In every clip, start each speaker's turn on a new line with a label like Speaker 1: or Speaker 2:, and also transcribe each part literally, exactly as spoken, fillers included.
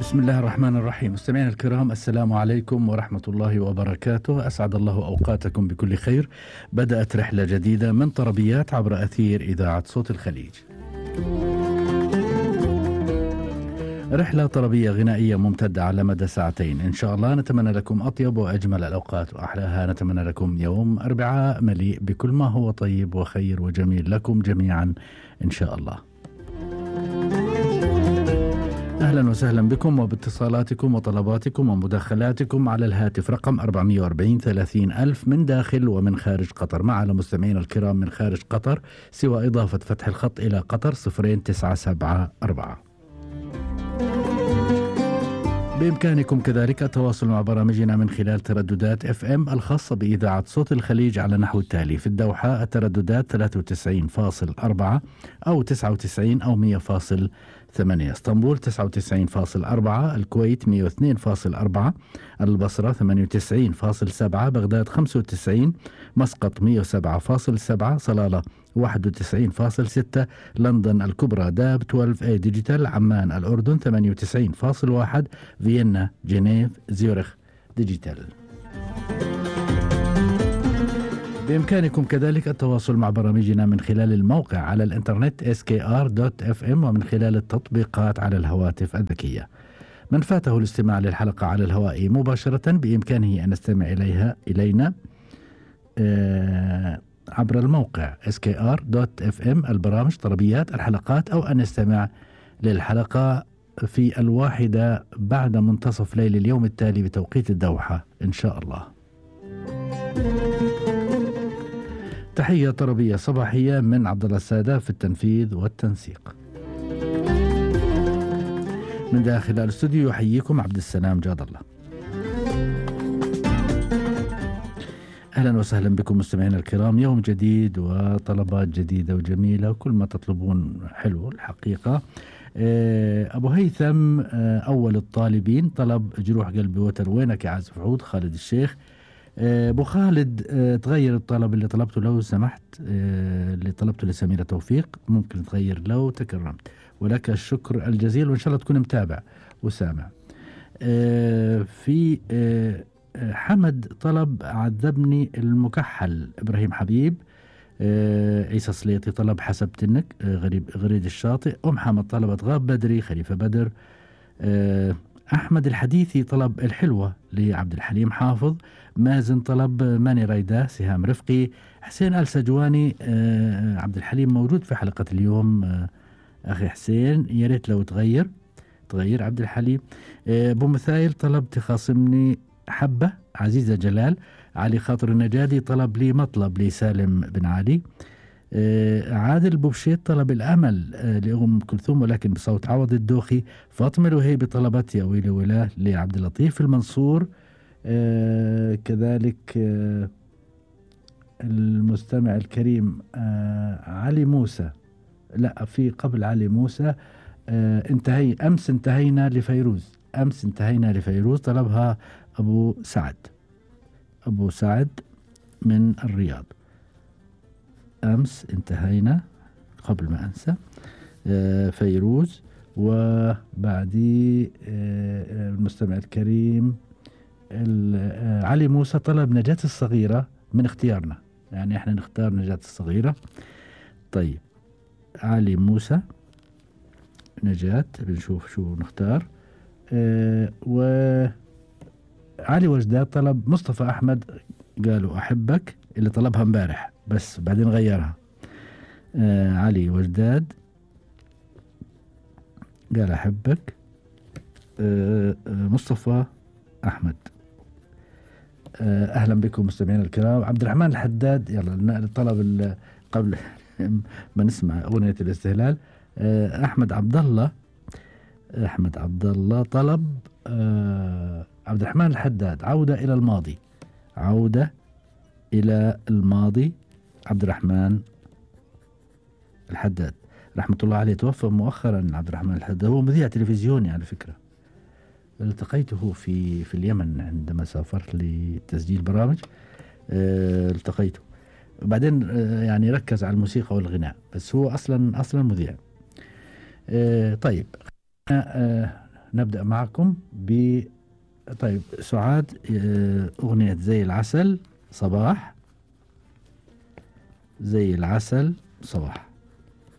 Speaker 1: بسم الله الرحمن الرحيم. مستمعينا الكرام، السلام عليكم ورحمة الله وبركاته. أسعد الله أوقاتكم بكل خير. بدأت رحلة جديدة من طربيات عبر أثير إذاعة صوت الخليج. رحلة طربية غنائية ممتدة على مدى ساعتين إن شاء الله. نتمنى لكم أطيب وأجمل الأوقات وأحلاها. نتمنى لكم يوم أربعاء مليء بكل ما هو طيب وخير وجميل لكم جميعا إن شاء الله. أهلا وسهلا بكم وباتصالاتكم وطلباتكم ومداخلاتكم على الهاتف رقم أربعمئة وأربعين ثلاثين ألف من داخل ومن خارج قطر. مع مستمعينا الكرام من خارج قطر سوى إضافة فتح الخط إلى قطر صفرين تسعة سبعة أربعة. بإمكانكم كذلك التواصل مع برامجنا من خلال ترددات اف ام الخاصة بإذاعة صوت الخليج على نحو التالي: في الدوحة الترددات ثلاثة وتسعين فاصلة أربعة أو تسعة وتسعين أو مئة فاصلة ثمانية، اسطنبول تسعة وتسعين فاصلة أربعة، الكويت مئة واثنين فاصلة أربعة، البصرة ثمانية وتسعين فاصلة سبعة، بغداد خمسة وتسعين، مسقط مئة وسبعة فاصلة سبعة، صلالة واحد وتسعين فاصلة ستة، لندن الكبرى داب اثناشر اي ديجيتال، عمان الأردن ثمانية وتسعين فاصلة واحد، فيينا جنيف زيورخ ديجيتال. بإمكانكم كذلك التواصل مع برامجنا من خلال الموقع على الإنترنت إس كي آر دوت إف إم ومن خلال التطبيقات على الهواتف الذكية. من فاته الاستماع للحلقة على الهواء مباشرة بإمكانه أن يستمع إليها إلينا آه عبر الموقع إس كي آر دوت إف إم، البرامج طربيات الحلقات، أو أن يستمع للحلقة في الواحدة بعد منتصف ليل اليوم التالي بتوقيت الدوحة إن شاء الله. تحية طربية صباحية من عبد الله السادة في التنفيذ والتنسيق. من داخل الاستوديو يحييكم عبد السلام جاد الله. أهلا وسهلا بكم مستمعينا الكرام. يوم جديد وطلبات جديدة وجميلة وكل ما تطلبون حلو الحقيقة. أبو هيثم أول الطالبين طلب جروح قلبي وتر وينك يا عازف عود خالد الشيخ. أبو خالد تغير الطلب اللي طلبته لو سمحت، اللي طلبته لسميرة توفيق ممكن تغير لو تكرمت، ولك الشكر الجزيل وإن شاء الله تكون متابع وسامع. في حمد طلب عذبني المكحل إبراهيم حبيب. عيسى سليطي طلب حسب تنك غريب غريد الشاطئ. أم حمد طلبت غاب بدري خليفة بدر. أحمد الحديثي طلب الحلوة لعبد الحليم حافظ. مازن طلب ماني رايدة سهام رفقي. حسين آل سجواني عبد الحليم موجود في حلقة اليوم أخي حسين، يا ريت لو تغير تغير عبد الحليم. أبو مثايل طلب تخاصمني حبة عزيزة جلال. علي خاطر النجادي طلب لي مطلب لسالم بن علي. آه عادل بوبشيت طلب الأمل آه لأم كلثوم ولكن بصوت عوض الدوخي. فاطمة الوهيبي طلبت يا ويلي ويلاه لعبد اللطيف المنصور. آه كذلك آه المستمع الكريم آه علي موسى، لا في قبل علي موسى آه انتهي أمس انتهينا لفيروز. أمس انتهينا لفيروز طلبها أبو سعد أبو سعد من الرياض. أمس انتهينا قبل ما أنسى آه فيروز. وبعدي آه المستمع الكريم آه علي موسى طلب نجاة الصغيرة من اختيارنا، يعني احنا نختار نجاة الصغيرة. طيب علي موسى نجاة بنشوف شو نختار. آه وعلي وجداد طلب مصطفى أحمد قالوا أحبك اللي طلبها امبارح بس بعدين غيرها. آه علي وجداد قال أحبك. آه آه مصطفى أحمد. آه أهلا بكم مستمعين الكرام. عبد الرحمن الحداد يلا الطلب قبل ما نسمع أغنية الاستهلال. آه أحمد عبد الله أحمد عبد الله طلب آه عبد الرحمن الحداد عودة إلى الماضي. عودة إلى الماضي. عبد الرحمن الحداد رحمة الله عليه توفى مؤخرا. عبد الرحمن الحداد هو مذيع تلفزيوني على فكرة، التقيته في في اليمن عندما سافرت لتسجيل برامج. اه التقيته وبعدين اه يعني ركز على الموسيقى والغناء، بس هو أصلا أصلا مذيع. اه طيب اه نبدأ معكم ب طيب سعاد، أغنية زي العسل صباح، زي العسل صباح.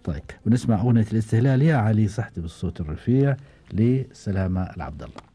Speaker 1: طيب ونسمع أغنية الاستهلال يا علي صحتي بالصوت الرفيع لسلامة العبد الله.